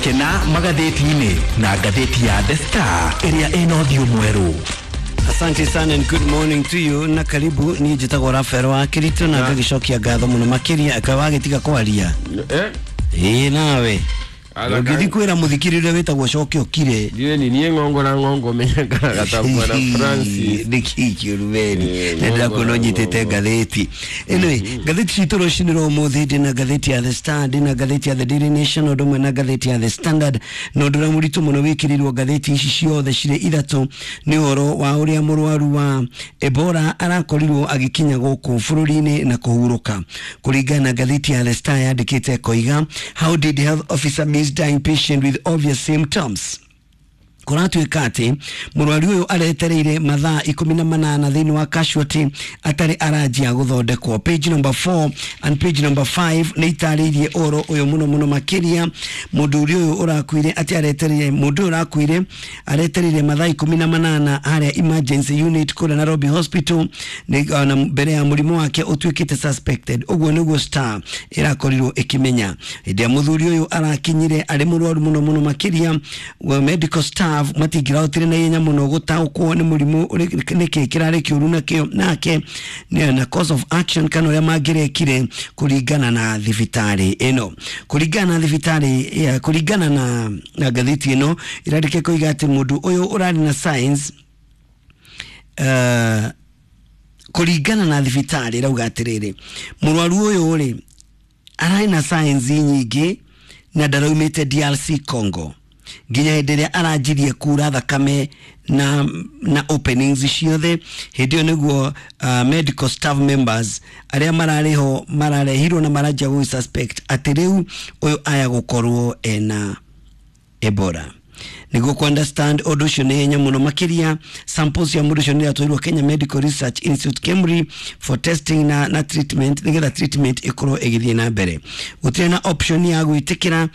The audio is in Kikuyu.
Gũkena magathĩti-inĩ na ngathĩti ya The Star ĩrĩa ĩna ũthiũ mwerũ. Asante sana and good morning to you na karibu. Niĩ njĩtagwo Rafael wa Kirito na ngagĩcokia ngatho mũno makĩria kaĩ wagĩtiga kwaria. Eh? Ĩĩ, nawe Ala ũngĩthiĩ kwĩra mũthikĩrĩria ũrĩa wĩtagwo coke ũkire. Ndiũĩ ni niĩ ng'ongo na ng'ongo menyaga gatambua na Francis. Nĩkĩ kĩũru? Eh, Nĩ ndĩrakuona ng'ongo na ũnyitĩte ng'ongo. ngathĩti. Anyway, ngathĩti citũ rũcinĩ rwa ũmũthĩ, ndĩna ngathĩti ya The Star, ndĩna ngathĩti ya The Daily Nation, ũndũ ũmwe na ngathĩti ya The Standard, na ũndũ ũrĩa mũritũ mũno wĩkĩrĩirwo ngathĩti ici ciothe cirĩ ithatũ nĩ ũhoro wa ũrĩa mũrwaru wa Ebola arakorirwo agĩkinya gũkũ bũrũri-inĩ na kũhurũka. Kũringana na ngathĩti ya The Star, yandĩkĩte koiga, "How did health officer miss dying patient with obvious symptoms?" Kũratuĩka atĩ mũrwaru ũyũ aretereire mathaa 18 thĩinĩ wa casualty atarĩ aranjia gũthondekwo. Page number 4 and page number 5 nĩ itarĩirie ũhoro ũyũ mũno mũno makĩria. Mũndũ ũrĩa ũyũ ũrakuire atĩ aretereire, mũndũ ũyũ ũrakuire aretereire mathaa 18 harĩa emergency unit kũrĩa Nairobi Hospital nĩ, na mbere ya mũrimũ wake ũtuĩkĩte suspected. Ũguo nĩguo Star ĩrakorirwo ĩkĩmenya. Hĩndĩ ĩrĩa mũthuri ũyũ arakinyire arĩ mũrwaru mũno mũno makĩria, well, medical staff matingĩrahotire na ihenya mũno gũtaũkwo nĩ mũrimũ nĩkĩ kĩrarĩ kĩũru nakĩo nake na cause of action kana ũrĩa mangĩrekire. Kũringana na thibitarĩ ĩno, kũringana na thibitarĩ ya, kũringana na ngathĩti ĩno ĩrandĩke koiga atĩ mũndũ ũyũ ũrarĩ na signs, kũringana na thibitarĩ ĩrauga atĩrĩrĩ, mũrwaru ũyũ rĩ ararĩ na signs nyingĩ na ndaraumĩte DRC Congo nginya hĩndĩ ĩrĩa aranjirie kura thakame na openings ciothe. Hĩndĩ ĩyo nĩguo medical staff members arĩa mararĩ ho mararehirwo na maranjia gũ suspect atĩ rĩu ũyũ aya gũkorwo ena Ebola. Nĩguo ku understand ũndũ ũcio nĩ hinya mũno makĩria, samples ya mũndũ ũcio nĩ iratwarirwo Kenya Medical Research Institute, KEMRI, for testing na treatment, nĩgetha treatment ĩkorwo ĩgĩthiĩ na mbere. Gũtirĩ na option ya gwĩtĩkĩra.